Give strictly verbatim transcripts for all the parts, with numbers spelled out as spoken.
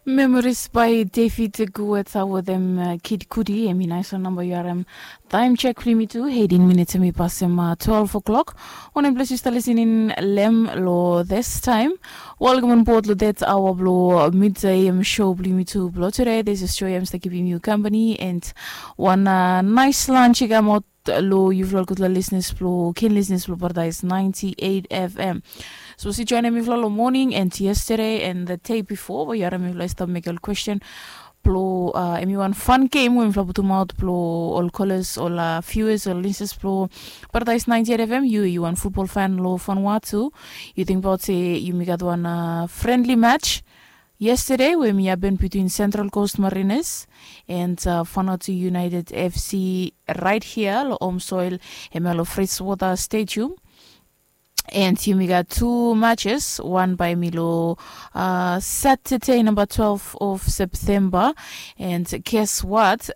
Memories by David Guetta wetem Kid Cudi. Em i nais wan namba yu harim. Taim chek blong yumi tu, eighteen minutes em i pasim twelve o'clock. Wanem ples yu stap lisening long em long this time? Welcome on board long that aoa blong midday em show blong yumi tu blong today. This is show em stap givim yu company and wan nais lunch i kamaot long yufala gutpela listeners blong keen listeners blong Paradise ninety-eight F M. Sapos yu joinim mifala long morning and yesterday and the day before, we yu harim mifala i stap mekim ol question blong uh, em i wan fun game we mifala putumaot blong ol callers, ol uh, viewers, ol listeners blong Paradise ninety-eight F M. Yu yu wan football fan long Vanuatu, yu tingbaot se yumi gat wan uh, friendly match yesterday we mi happen between Central Coast Mariners and uh, Vanuatu United F C right here lo home soil, em lo Freshwater Stadium. And yumi gat two matches, one by mi lo uh, Saturday number twelve of September. And guess what?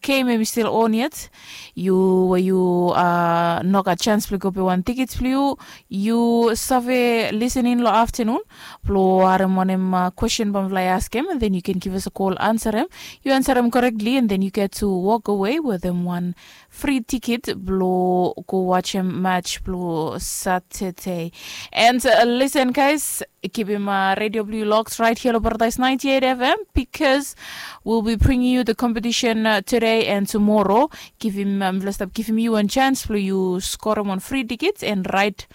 Game em i still on yet. Yu we yu uh, no gat chance blong go pay wan ticket blong yu, yu save listening lo afternoon blong harim wanem uh, question bamfly askem, and then you can give us a call, answer em. You answer em correctly and then you get to walk away with them one free ticket blong go watch em match blong Saturday. And uh, listen guys, keep him uh, radio blue locked right here on Paradise ninety-eight F M because we'll be bringing you the competition uh, today and tomorrow. Give him um, let's stop give him you one chance blong you score him on free tickets and right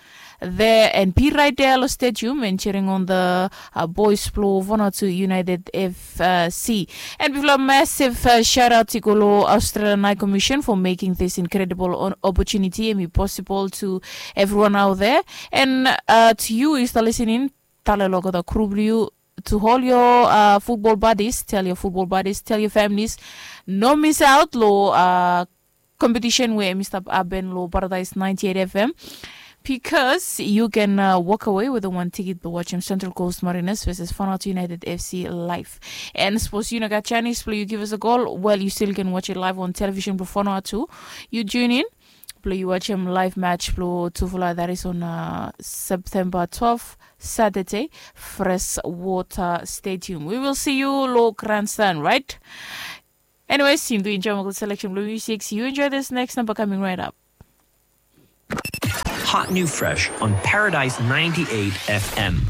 there and be right there lo stadium and cheering on the uh, boys blong Vanuatu United F C. And bifala massive uh, shout out i go lo Australian High Commission for making this incredible on opportunity and be possible to everyone out there. And uh, to you is the listening, tale lo olgeta crew blong you to all your uh, football buddies, tell your football buddies, tell your families, no miss out lo uh, competition we em i stap happen lo Paradise ninety-eight F M. Because you can uh, walk away with a one ticket to watch him Central Coast Mariners versus Vanuatu United F C live. And suppose you no got chance, please you give us a call. Well, you still can watch it live on television before Vanuatu. You tune in, play you watch him live match blong tufala that is on uh, September twelve, Saturday, Freshwater Stadium. We will see you lo grandstand, right? Anyways, you do enjoy my good selection blue music. See you enjoy this next number coming right up. Hot new fresh on Paradise ninety-eight F M.